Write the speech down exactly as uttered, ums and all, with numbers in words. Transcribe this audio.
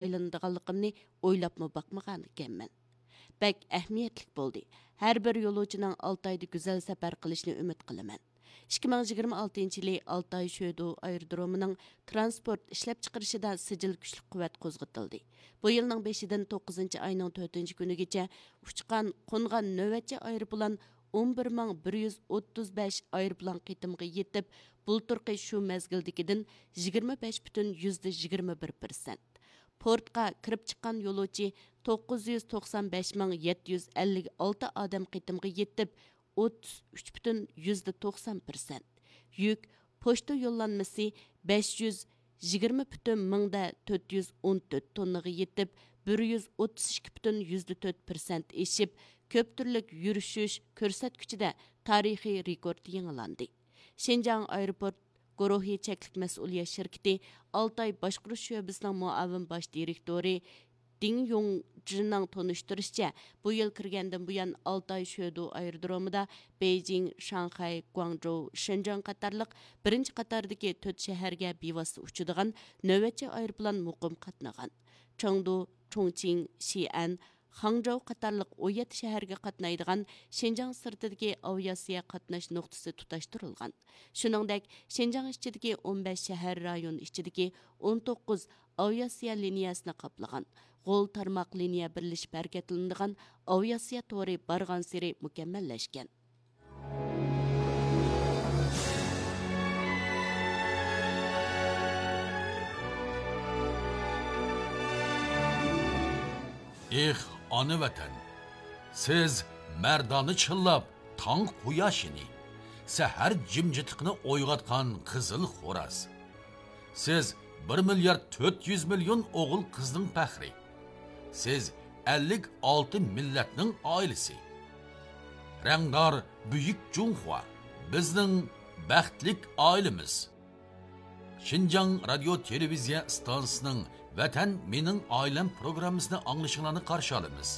ئايلىنىدىغانلىقىمنى ئويلاپمۇ باقمىغانىكەنمەن. بەك ئەھمىيەتلىك بولدى. ھەر بىر يولۇچىنىڭ ئالتايدا گۈزەل سەپەر قىلىشىنى ئۈمىد قىلىمەن. ئىككى مىڭ يىگىرمە ئالتىنچى يىلى ئالتاي شۆدو ئايرودرومىنىڭ ترانسپورت ئىشلەپچىقىرىشىدا سىجىل كۈچلۈك قۇۋۋەت قوزغىتىلدى. بۇ يىلنىڭ بېشىدىن توققۇزىنچى ئاينىڭ تۆتىنچى كۈنىگىچە ئۇچقان، قونغان نۆۋەتچى ئايروپىلان ئون بىر مىڭ بىر يۈز ئوتتۇز بەش ئايروپىلان قېتىمىغا يېتىپ، بۇلتۇرقى شۇ مەزگىلدىكىدىن يىگىرمە بەش پۈتۈن يۈزدە يىگىرمە بىر پىرسەنت. پورتقا كىرىپ چىققان يولۇچى توققۇز يۈز توقسان بەش مىڭ يەتتە يۈز ئەللىك ئالتە ئادەم قېتىمغا يېتىپ، ئوتتۇز ئۈچ پۈتۈن يۈزدە توقسان پىرسەنت. يۈك پوچتا يوللانمىسى بەش يۈز يىگىرمە پۈتۈن مىڭدە تۆت يۈز ئون تۆت توننىغا يېتىپ، بىر يۈز ئوتتۇز ئىككى پۈتۈن يۈزدە تۆت پىرسەنت ئېشىپ، كۆپ تۈرلۈك يۈرۈشۈش كۆرسەتكۈچىدە تارىخىي رېكورت يېڭىلاندى. شىنجاڭ ئايروپورت گۇرۇھى چەكلىك مەسئۇلىيەت شىركىتى ئالتاي باشقۇرۇش شۆبىسىنىڭ مۇئاۋىن باش دىرېكتورى دىڭ يۇڭجىنىڭ تونۇشتۇرۇشىچە، بۇ يىل كىرگەندىن بۇيان، ئالتاي شۆدو ئايرودرومىدا بېيجىڭ، شاڭخەي، گۇاڭجۇ، شىنجاڭ قاتارلىق بىرىنچى قاتاردىكى تۆت شەھەرگە بىۋاسىتە ئۇچىدىغان نۆۋەتچى ئايروپىلان مۇقىم قاتنىغان. چېڭدۇ، چۇڭچىڭ، شىئەن، خاڭجاۋ قاتارلىق ئون يەتتە شەھەرگە قاتنايدىغان شىنجاڭ سىرتىدىكى ئاۋىئاتسىيە قاتناش نۇقتىسى تۇتاشتۇرۇلغان. شۇنىڭدەك، شىنجاڭ ئىچىدىكى ئون بەش شەھەر رايون ئىچىدىكى ئون توققۇز ئاۋىئاتسىيە لىنىيەسىنى قاپلىغان، غول تارماق لىنىيە بىرلىشىپ ھەرىكەتلىنىدىغان ئاۋىئاتسىيە تورى بارغانسېرى مۇكەممەللەشكەن. ئېھ، ئانا ۋەتەن! سىز مەردانە چىللاپ، تاڭ قۇياشىنى، سەھەر جىمجىتلىقىنى ئويغاتقان قىزىل خوراز. سىز بىر مىليارد تۆت يۈز مىليون ئوغۇل قىزنىڭ پەخرى. سىز ئەللىك ئالتە مىللەتنىڭ ئائىلىسى. رەڭدار بۈيۈك جۇڭخۇا، بىزنىڭ بەختلىك ئائىلىمىز. شىنجاڭ رادىيو تېلېۋىزىيە ئىستانسىسىنىڭ ۋەتەن مېنىڭ ئائىلەم پروگراممىسىنى ئاڭلىشىڭلارنى قارشى ئالىمىز.